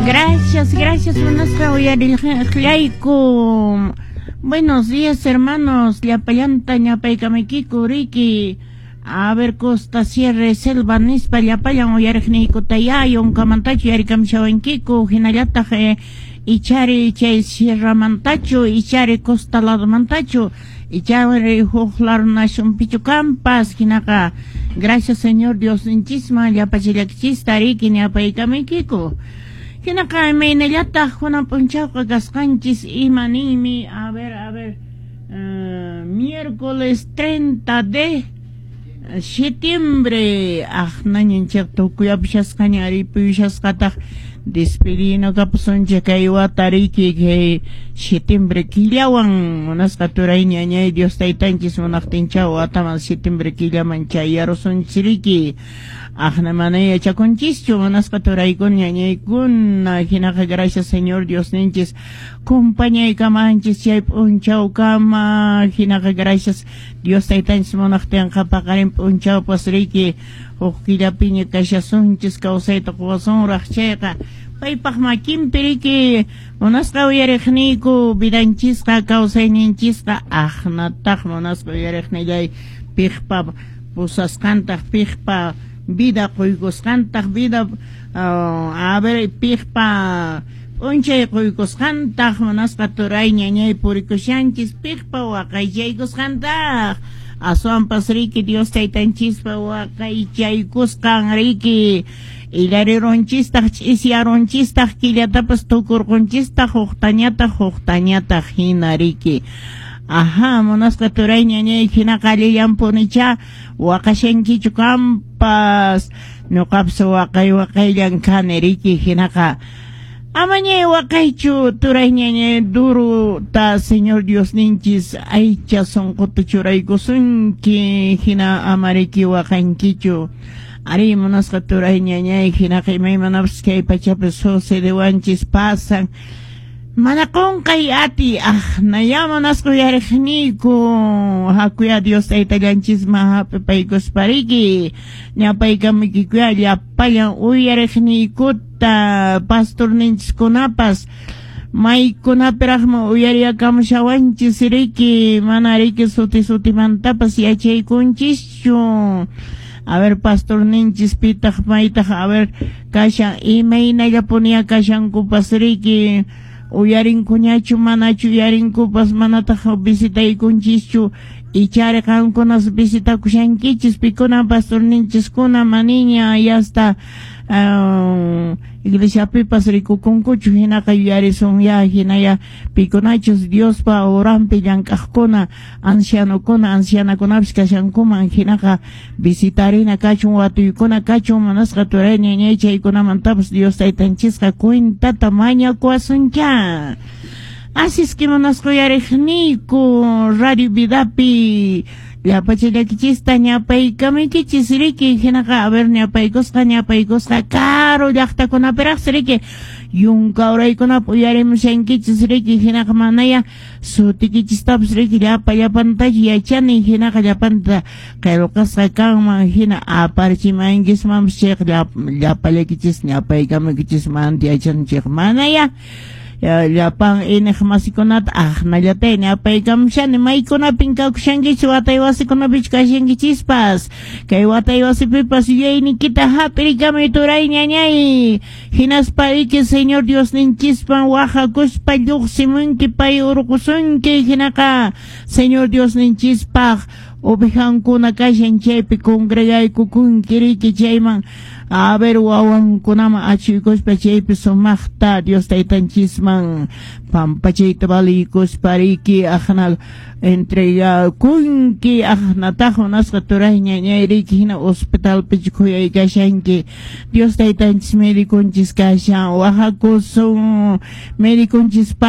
Gracias, gracias, munasqa uyariqllayku. Buenos días, hermanos. Llapallanta ñapaykamaykiku riki. A ver, Costa Sierra Selva nispa llapallan uyariqniykutayá yunkamantachu yarikamushawankiku hinallataq ichari chay sierramantachu, ichari costa ladomantachu, ichari huk lado nacionpichu kampas. Hinaqa gracias, Señor Diosninchisman llapachallakchista riki ñapaykamaykiku. Hinaqa imaynallataq kunan p'unchawqa kasqanchis? Ima ninmi? A ver, a ver, miércoles 30 de septiembre. Aqnañanchik tukuyapishasqaña ripuyushasqataq despedino kapusunchik kay wata riki kay septiembre killawan. Munasqa turay ñañay, Dios taytanchis munaqtincha wataman septiembre killaman chayarusunchis riki. Aqna mana yachakunchischu, munasqa turaykuna ñañaykuna. Hinaqa gracias, Señor Diosninchis compañaykamanchis chay p'unchawkama. Hinaqa gracias, Dios taytanchis munaqtinqa paqarin p'unchawpas riki huk killapiña kashasunchis, kawsayta quwasunraq chayqa. Paypaq makinpi riki, munasqa uyariqniyku, vidanchisqa, kawsayninchisqa. Aqnataq, munasqa uyariqnillay, piqpa pusasqantaq, piqpa vida quykusqantaq, vida a ver, piqpa p'unchay quykusqantaq, munasqa turay ñañay, purikushanchis, piqpa waqaychaykusqantaq? Aswanpas riki Dios taytanchispa waqaychaykusqan riki illarirunchistaq, ch'isiyarunchistaq, killatapas tukurqunchistaq, huqtañataq, huqtañataq hina riki. Ajá, munasqa turay ñañay, hinaqa allillanpunichá. Waqashankichu kampas? Ñuqapas waqay waqayllan kani riki. Hinaqa amañay waqaychu, turay ñañay, duruta Señor Diosninchis aycha sunquta churaykusunki, hina ama riki waqankichu. Ari, munasqa turay ñañay, hinaqa imaymanapas kay pachapi sucedewanchis, pasan, mana qunqay ati. Aqnaya, munasqa uyariqniyku, hakuya Dios taytallanchisman hap'ipaykuspa riki. Ñapaykamikikuya llapallan uyariqniykuta, pastorninchiskunapas maykunapiraqmi uyariyakamushawanchis riki, mana riki suti sutimantapas yachaykunchischu. A ver, pastorninchis pitaq, maytaq, a ver, kashan, imaynallapuniya kashankupas riki, uyarinkuñachu, manachu uyarinkupas, manataq visitaykunchischu. Ichari qamkunas visitakushankichis. Pikuna pastorninchiskuna maniña yasta iglesiapipas rikukunkuchu. Hinaqa yuyarisun ya hinaya pikunachus Diospa oranpi llank'aqkuna, ancianokuna, ancianakunapis kashankuman. Hinaqa visitarina kachun, watuykuna kachun, munasqa turay ñañay, chaykunamantapas Dios taytanchisqa cuentata mañakuwasuncha. Así es que, munasqa uyariqniyku, Radio Vidapi llapachallakichista ñapaykamaykichis riki. Hinaqa a ver, ñapaykusqa, ñapaykusqa karu llaqtakunapiraqsi riki, yunka uraykunapi uyarimushankichis riki. Hinaqa manaya sutikichistapas riki llapa llapantachu yachani. Hinaqa llapanta qillqasqa kanman hina aparichimankismanpas chayqa llapallakichis ñapaykamaykichis manta yachani chayqa manaya llapan iniq masikunata aqnallatay ñapaykamushani. Maykunapin kakushankichis? Watay wasikunapichu kashankichispas? Kay watay wasipipas yuyayniykita hap'irikamuy, turay ñañay, hinaspa riki Señor Diosninchispan wahakuspa lluqsimunki, pay urqusunki. Hinaqa Señor Diosninchispaq ovejankuna kashan chaypi congregaykukunki riki, chayman a ver wawankunaman achuykuspa chaypi sumaqta Dios taytanchisman pampachayta valiykuspa riki aqna entregakunki. Aqnataq, munasqa turay ñañay riki, hina hospitalpichu khuyaykashanki? Dios taytanchis mediconchis kashan, wahakusun mediconchis.